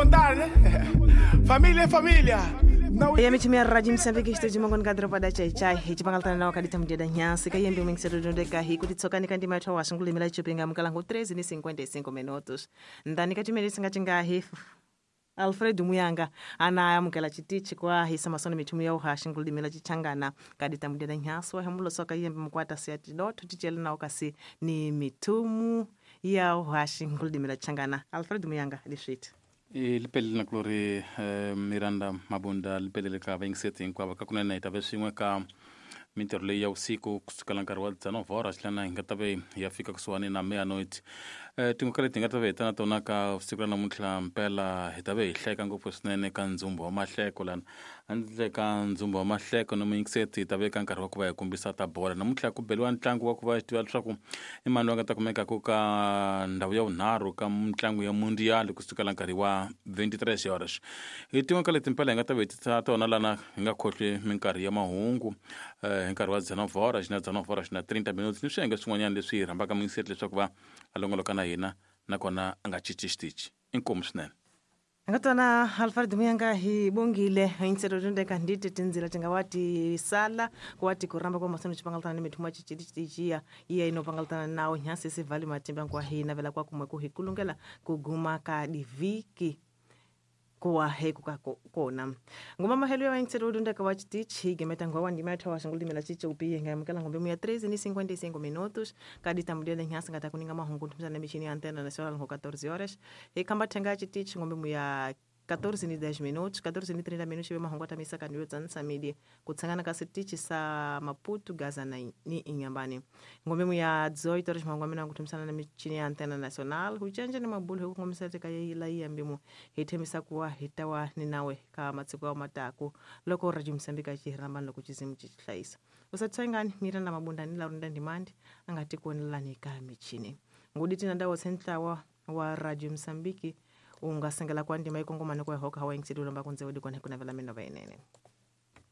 contar, né? Família é família. Não. Ya michi mia Rádio Moçambique estúdio mangon kadro pada chai chai hi pangaltana nawo kadita mudeda nyasi kayembe mwingisero dondeka hi kuti tsokani kandi mathu wa shingulimela chupinga mukalango 13:55 minutos ndani katimene singatingahi Alfred Muyanga ana amukela chitichi kwa hisa masono mithumu ya uhashi nkulimela chichangana kadita mudeda nyasi wahemulo soka yembe mukwata siati dotho tichele nawo kasi ni mithumu ya uhashi nkulimela chichangana. Alfred Muyanga liswiti I lipelele na kulori Miranda Mabunda lipelele ka vayingiseti hinkwavo ka kunene hi ta ve swin'we ka mintirho leyi ya vusiku kusukela nkarhi wa 19 horas lana hi nga ta ve hi ya fika kusuhani na meanoit. Tin'we ka leti hi nga ta ve hi ta na tona ka siku ra namuntlha mpela hi ta ve hi hleka ngopfu swinene ka ndzumbu wa mahleko lana handle ka ndzumbu wa mahleko no muyingiseti hi ta ve ka nkarhi wa ku va hi kombisa ta bola namuntlha ku beliwa ntlangu wa ku va hi tiva leswaku i mani loyi a nga ta kumekaku ka ndhawu ya vunharhu ka mitlangu ya mundial kusukela nkarhi wa 23 horas. Hi tin'we ka leti mpela hi nga ta ve hi tisa tona lana hi nga khohlwi minkarhi ya mahungu hi nkarhi wa 19 horas na 19 horas na 30 minutes ni swiyenge swin'wanyana leswi hi rhambaka muyingiseti leswaku va a longoloka na hina nakona a nga cinci xitichi. Inkomu swinene. Ngatona Alfred Muyanga hi bongile insero dondeka nditi tinzila tingawati sala kuwati kuramba kwa masono chipangaltana ni mithuma chichiti chichia iya inopangaltana nawo nyasi sivali matimba kwa hi navela kwa kumwe kuhikulungela kuguma ka diviki kuwa heku ka kona ngoma mahelo ya insero dondeka wa chitichi higemeta ngwa wandima yathu wa shingulimela chiche upiye ngamukela ngombe muya 13:55 minutos kadita mudele nyasi ngata kuninga mahungu ntumsana michini ya antena nacional ngo 14 horas ikamba thenga chitichi ngombe muya 14:10 minutos 14:30 minutos ibe mahungu atamisa kandiyo tsanisa midi kutsangana ka sitichi sa Maputo Gaza na ni Inhambane ngombe muya 18 horas mahungu amena kutumsana na michini ya antena nacional huchenje ni mabulu hukungomisa teka ila iyambimu hithemisa kuwa hitawa ni nawe ka matsiko ya mataku loko Radio Moçambique chihirambani loko chizimu chichihlayisa usatsengani Miranda Mabunda ni Laurenda Ndimandi angati kuonelani ka michini ngudi tina ndawo sentlawa wa Radio Moçambique ungasengela kwa ndima ikongomane kwa hoka hawa ingisedulomba kunze udi kone kuna vela mino vainene.